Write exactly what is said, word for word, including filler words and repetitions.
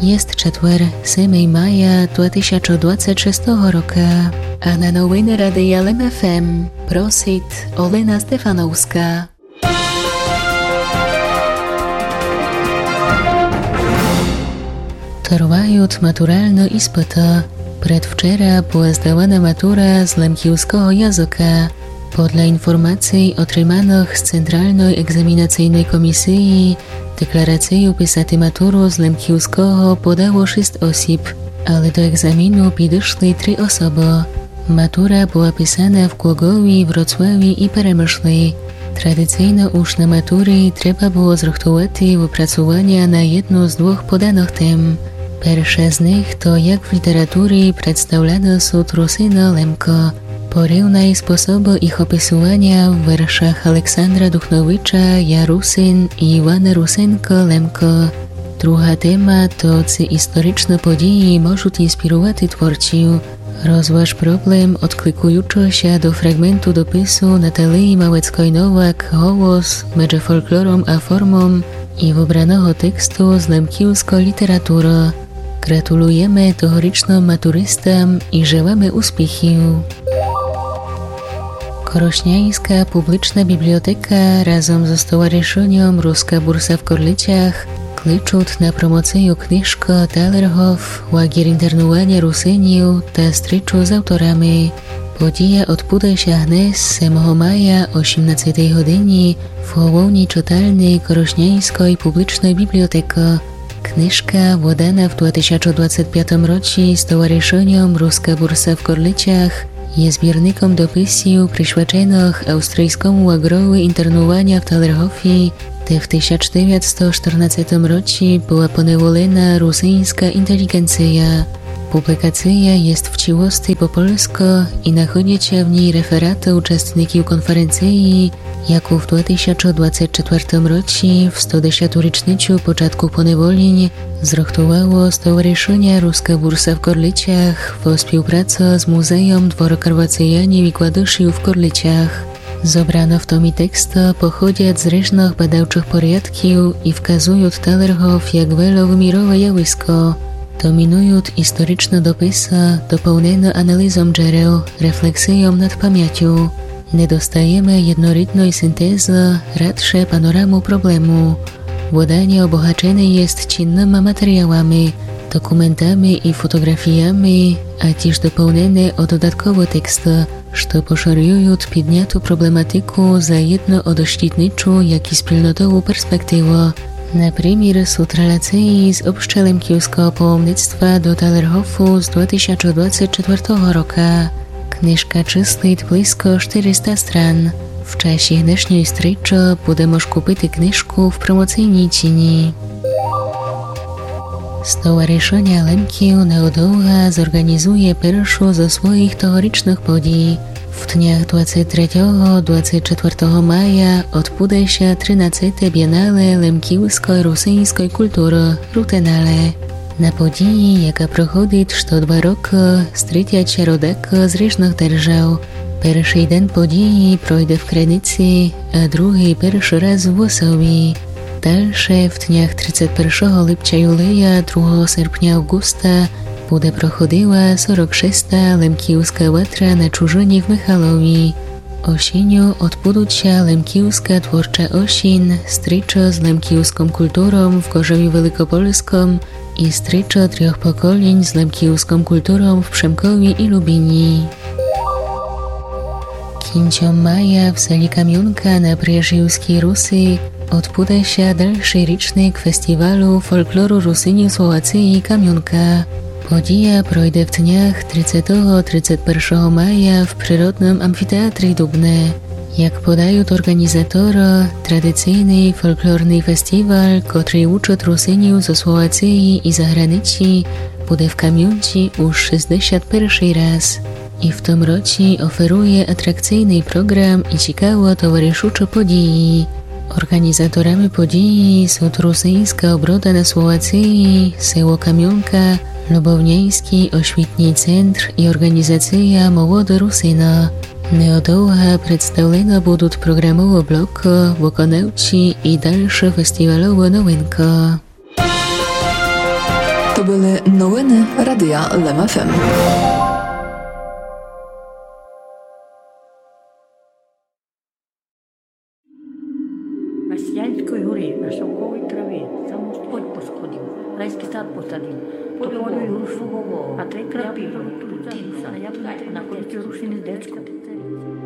Єст четвер, семого мая два тисячі двадцять шестого рока. А на новины Радия Лем ФМ просит Олена Стефановска. Тривают матуралны испыты. Предвчера была здавана матура з лемківского языка. Подля інформаций, отриманых з Централной екзамінацийной комісиі, декларацию писати матуру з лемківского подало шіст осіб, але до екзаміну підышли три особы. Матура была писана в Глоґові, Вроцлаві і Перемышлі. Традицийно уж на матурі треба было зрыхтувати выпрацуваня на єдну з двох поданых тем. Перша з них то, як в літературі представляны сут Русины Лемко. Порівнай способы їх описуваня в вершах Александра Духновича «Я Русин» і Івана Русенка «Лемко». Друга тема то, ци історичны подіі можут інспірувати творців. Розваж проблем, одкликуючы ся до фраґменту допису Наталиі Малецкой-Новак «Голос меджы фолклором а формом» і выбраного тексту з лемківской літературы. Ґратулуєме тогорічным матуристам і желаме успіхів. Корошняйска публічна бібліотека разом зо стоваришыньом «Руска бурса» в Корлицях кличут на промоцию книжкы «Талергоф. Лагер інтернуваня Русинів та стрічу з авторами». Подія одбуде ся гнес, семого мая, о сімнадцятій годині, в головній читальни Корошняйской публічной бібліотекы. Книжка, выдана в два тисячі двадцять пятым році стоваришыньом «Руска бурса» в Корлицях, є збірником дописів, присвяченых австрийскому лагрови інтернуваня в Талергофі, де в тисяч девятсто штырнадцятым році была поневолена русиньска інтеліґенция. Публікация єст в цілости по польску і находять ся в ній рефераты участників конференциі, яку в два тисячі двадцять четвертым році, в сто десяту річницю початку поневолінь, зрыхтувало стоваришыня «Руска бурса» в Корлицях во співпраци з Музеєм двору Карвацыянів і Кладышів в Корлицях. Зобраны в томі тексты походять з ріжных бадавчых порядків і вказують Талергоф як веловымірове явиско. Домінують історичны дописы, доповнены аналізом джерел, рефлексийом над памятю. Не достаєме єднорідной синтезы, радше панораму проблему. Выданя обогачене єст цінныма матеріалами, документами і фотоґрафіями, а тіж доповнене о додатковы тексты, што пошырюють підняту проблематику заєдно о дошкітничу, як і спільнотову перспективу. Напримір, сут релациі з общелемківского паломництва до Талергофу з два тисячі двадцять четвертого рока. Книжка чыслить близько штыриста стран. В часі днешньой стрічы буде мож купити книжку в промоцийній ціні. Стоваришыня Лемків неодовга зорґанізує першу зо своїх тогорічных подій. В днях двадцять третього, двадцять четвертого мая одбуде ся тринадцяте Бієнале лемківской русиньской культуры «Рутенале». На події, яка проходить што два рокы, стрітять ся родакы з ріжных держав. Першый ден події пройде в Криниці, а другый першый раз в Осові. Дальше в днях тридцять першого липця, юлія, другого серпня, авґуста буде проходила сорок шеста Лемківска ватра на чужыні в Михалові. Осінню одбудуть ся Лемківска творча осінь, стрічы з лемківском культуром в Кожеві Великопольском і стрічы трьох поколінь з лемківском культуром в Пшемкові і Любіні. Кінцом мая в селі Камюнка на Пряжівскій Руси одбуде ся дальшый річник фестівалу фолклору Русинів Словациі «Камюнка». Подія пройде в днях тридцятого, тридцять першого мая в природным амфітеатрі Дубне. Як подают орґанізаторы, традицийный фолклорный фестівал, котрый учыт Русинів зо Словациі і заграниці, буде в Камюнці уж шістдесят першый раз. І в том році оферує атракцийный програм і цікавы товаришучы події. Орґанізаторами події сут Русиньска оброда на Словациі, село Камюнка, Любовняйскій освітній центр і орґанізация «Молоды Русины». Неодовга представлены будут програмовы блокы, выконавці і дальшы фестіваловы новинкы. Были новины Радия Лем ФМ. На Сіянській горі, на шовковій траві, сам Господь посходив, райський сад посадив, тополю й грушу, а три крапивы, на кольці рушини дечко.